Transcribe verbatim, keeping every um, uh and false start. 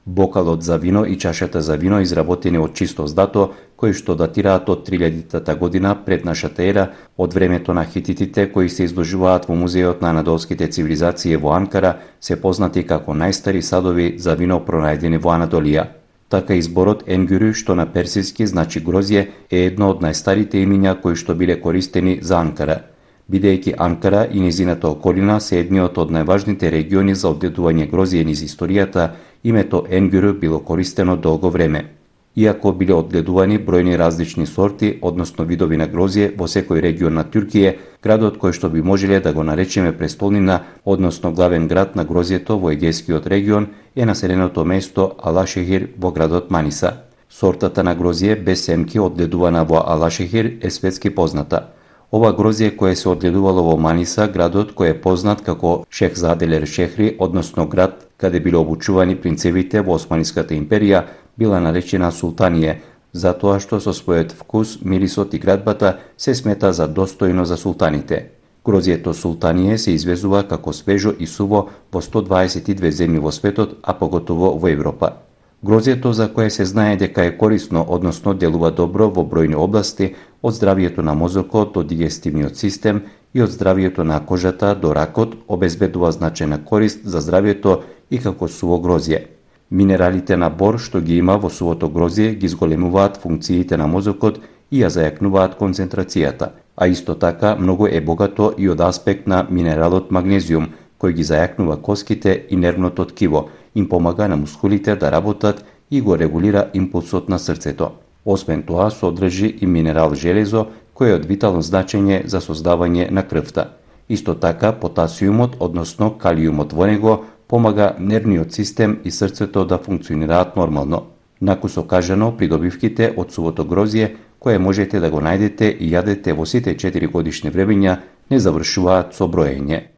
Бокалот за вино и чашата за вино изработени од чисто злато, кои што датираат од три илјадитата година пред нашата ера, од времето на хититите кои се изложуваат во музеот на анадолските цивилизации во Анкара, се познати како најстари садови за вино пронајдени во Анадолија. Така изборот енгюрү, што на персиски значи грозје, е едно од најстарите имиња кои што биле користени за Анкара. Бидејќи Анкара и низината околина се едниот од најважните региони за одгледување грозје низ историјата, името енгюрү било користено долго време. Иако биле одгледувани бројни различни сорти, односно видови на грозје во секој регион на Туркија, градот кој што би можеле да го наречеме престолнина, односно главен град на грозјето во Егејскиот регион, е населеното место Алашехир во градот Маниса. Сортата на грозје без семки одгледувана во Алашехир е светски позната. Ова грозје кое се одгледувало во Маниса, градот кој е познат како Шехзаделер Шехри, односно град каде биле обучувани принцевите во Османиската империја, била наречена Султанија, затоа што со својот вкус, мирисот и градбата се смета за достојно за султаните. Грозјето Султанија се извезува како свежо и суво во сто дваесет и две земји во светот, а поготово во Европа. Грозјето за кое се знае дека е корисно, односно делува добро во бројни области, од здравието на мозокот до дигестивниот систем и од здравието на кожата до ракот, обезбедува значајна корист за здравието и како суво грозје. Минералите на бор што ги има во сувото грозје ги зголемуваат функциите на мозокот и ја зајакнуваат концентрацијата, а исто така многу е богато и од аспект на минералот магнезиум, кој ги зајакнува коските и нервното ткиво, им помага на мускулите да работат и го регулира импулсот на срцето. Освен тоа, содржи и минерал железо, кој е од витално значење за создавање на крвта. Исто така, потасиумот, односно калиумот во него, помага нервниот систем и срцето да функционираат нормално. Накусо кажано, придобивките од сувото грозје, кое можете да го најдете и јадете во сите четири годишни времења, не завршуваат со броење.